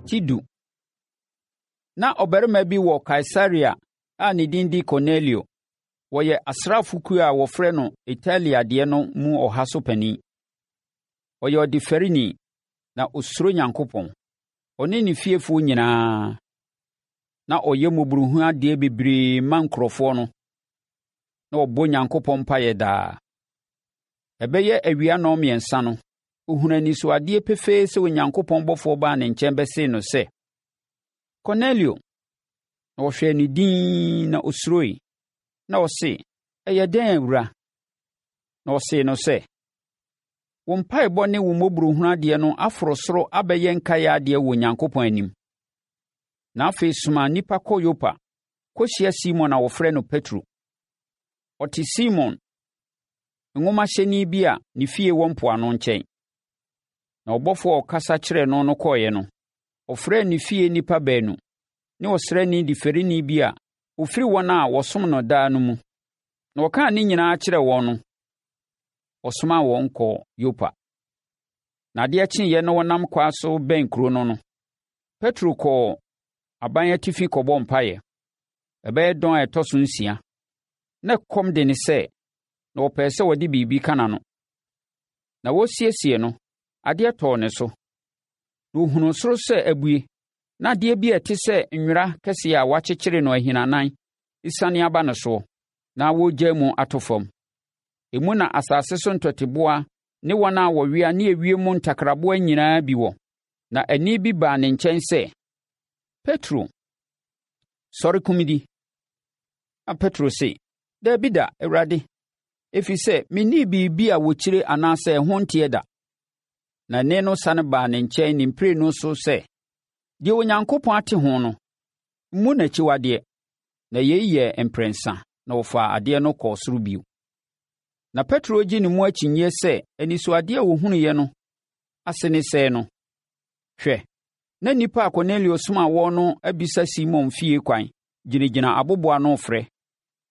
Ti du. Na ɔbarima bi wɔ Kaesarea a ne din de Kornelio. Wɔyɛ asraafokuo a wɔfrɛ no Italia deɛ no mu ɔha so panin. Ɔyɛ ɔdefɛreni, na ɔsuro Nyankopɔn, ɔne ne fiefoɔ nyinaa. Na ɔyɛ mmɔborɔhunu adeɛ bebree ma nkurɔfoɔ no, na ɔbɔ Onyankopɔn mpaeɛ daa. Ɛbɛyɛ awia nnɔnmiɛnsa no, ɔhunuu anisoadeɛ pefee sɛ Onyankopɔn bɔfoɔ baa ne nkyɛn bɛsee no sɛ, Kornelio! Na ɔhwɛɛ no dinn na ɔsuroe. Na ɔse, Ɛyɛ dɛn, Awura? Na ɔsee no sɛ, Wo mpaebɔ ne wo mmɔborɔhunu adeɛ no aforo soro abɛyɛ nkaeɛ adeɛ wɔ Onyankopɔn anim. Na afei soma nnipa kɔ Yopa kɔhyia Simon a wɔfrɛ no Petro. Ɔte Simon, nwomahyɛni bi a ne fie wɔ mpoano nkyɛn. Na ɔbɔfoɔ a ɔkasa kyerɛɛ no no kɔeɛ no, ɔfrɛɛ ne fie nnipa baanu ne ɔsraani defereni bi a ɔfiri wɔn a wɔsom no daa no mu. Na ɔkaa ne nyinaa kyerɛɛ wɔn no, ɔsomaa wɔn kɔɔ Yopa. Na adeɛ kyeeɛ na wɔnam kwan so bɛn kuro no no, Petro kɔɔ aban atifi kɔbɔɔ mpaeɛ. Ɛbɛyɛ dɔn a ɛtɔ so nsia. Na ɛkɔm de ne sɛ, na ɔpɛɛ sɛ ɔde biribi ka n'ano. Na wɔresiesie no, adeɛ tɔɔ ne so. Na ɔhunuu soro sɛ abue, na adeɛ bi a ɛte sɛ nwera kɛseɛ a wɔakyekyere no ahinanan resiane aba ne soɔ, na wɔregyaa mu ato fam. Emu na asase so ntɔteboa ne wɔn a wɔwea ne ewiem ntakraboa nyinaa bi wɔ. Na ɛnne bi baa ne nkyɛn sɛ, Petro, sɔre kum di. Na Petro se, Dabi da, Awurade, ɛfiri sɛ mennii biribi a wɔkyire anaasɛ ɛho nteɛ da. Na nne no sane baa ne nkyɛn ne mprenu so sɛ, Deɛ Onyankopɔn ate ho no, mmu no akyiwadeɛ. Na yei yɛɛ mprɛnsa na wɔfaa adeɛ no kɔɔ soro bio. Na Petro regye ne mu akyinnyeɛ sɛ anisoadeɛ a ɔhunuiɛ no ase ne sɛɛ no, hwɛ, na nnipa a Kornelio somaa wɔn no abisa Simon fie kwan gyinagyina aboboano refrɛ.